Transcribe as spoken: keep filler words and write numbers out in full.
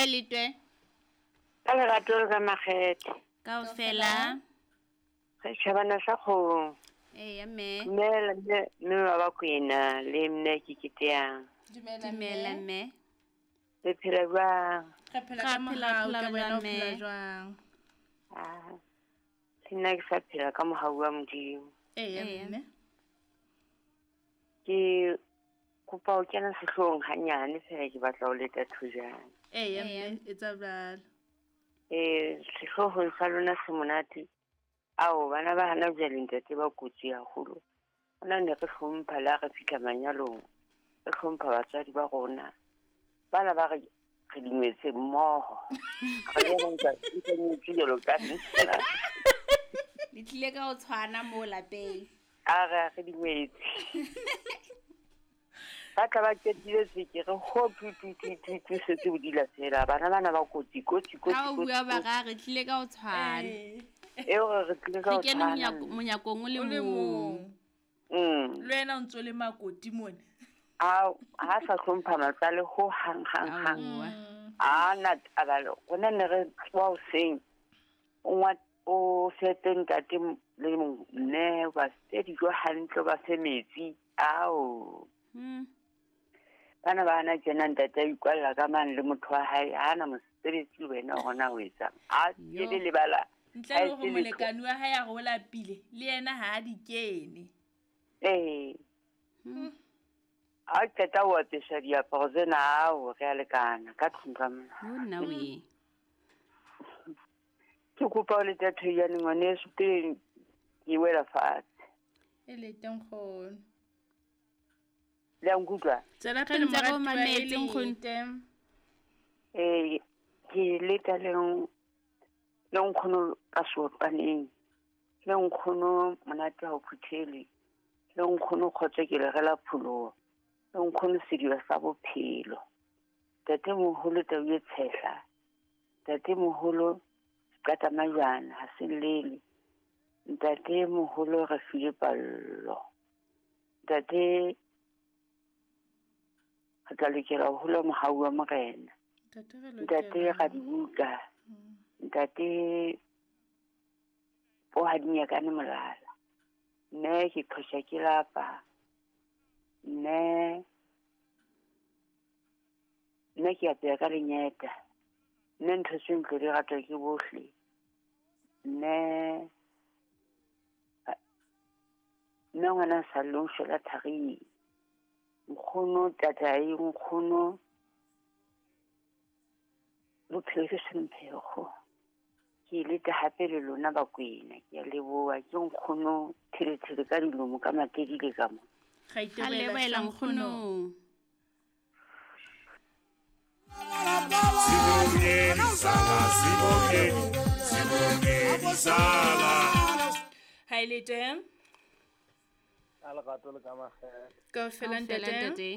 Ha e letwe. Ka lerato le ka makgethe. Kaofela. Re tjhabana sa kgong. Eya mme. Dumela mme mme wa Bakwena le mme Kikiteang. Dumela Dumela mme. mme. Le phela jwang? Re phela Ra ka phela, mohau phela ka wena o jwang, phela mme? jwang? Ah. Le nna ke sa phela ka mohau wa Modimo. Eya Eya. mme. Ke kopa ho kena sehloohong hanyane fela ke batla ho leta thojana. Eya Eya. mme, etsa jwalo. Eh sehloohong sa lona se monate. Ao bana ba hana jwale ntate ba kotsi haholo. Hona ne re hlompha le ha re fihla manyalong. Re hlompha batswadi ba rona. Bana ba re re dingwetse mmoho. Re jwalo nka nka nyetse jwalo ka nna. Le tlile ka ho tshwana mo lapeng. A re re dingwetse. Ba tla ba qetile tseke re ho tu tu tu tu tu setse o dila fela. Bana bana ba kotsi kotsi kotsi Ha o kotsi. bua ba ra re tlile ka ho tshwana. Ee. Eo re re tlile ka Re ho kene tshwana. monyako- monyakong o le O le mong. mong. Mm. Le wena o ntso le makoti mona. A ha sa hlompha matsale ho hang hang hang. Aowa. A na taba le rona ne re tsoha hoseng. O ngwa o fepe ntate m- le mme o ba fe dijo hantle o ba fe metsi. Ao. Hmm. Bana ba hana tjena ntate a ikwalla ka mane le motho wa hae ha ana mosebetsi le wena hore na o etsang. A Yo. ke le lebala. Ntle ha le e hore se letho. molekane wa hae a re o lapile, le yena ha a di kene. Ee. Hmm. Ha o qeta ho apesa diaparo tsena ao re a lekana ka tlung ka mona. Yo nna we. Ke kopa ho leta thoyane ngwaneso pele ke wela fatshe. E lete nkgono. Le a nkutlwa? Tswela Re pele ntse re o moratuwa, e mametse, nkgono. lete. Ee, ke leta le n- le nkgono ka seotwaneng. Le nkgono monate ha o phuthelwe. Le nkgono kgotso ke le rela pholoho. Le nkgono sediba sa bophelo. Ntatemoholo tau e tshehla. Ntatemoholo seqatamajwana ha se llele. Ntatemoholo re file pallo. Ntate re tla lokela ho hola mohau wa Morena. Ntate re Ntate lokela. ra dibuka. Ntate o ha di nyakane molala. Mme ke qhosha ke lapa. Mme mme ke apeya ka lenyeta. Mme ntho tse ntlo di ratwa ke bohle. Mme mme ngwana a sa lleng o shwela tharing. Nkgono tatae nkgono bophelo ke semphego. Ke leta hape le lona Bakwena ke a leboha ke nkgono thelethele ka dilomo ka matedile ka mo. Ra Ra itebohela lebohela hle nkgono. nkgono. Sibongeni sala, sibongeni, sibongeni sala. Ha e lete. Ka lerato le ka makgethe. Kaofela Kaofela ntate. ntate.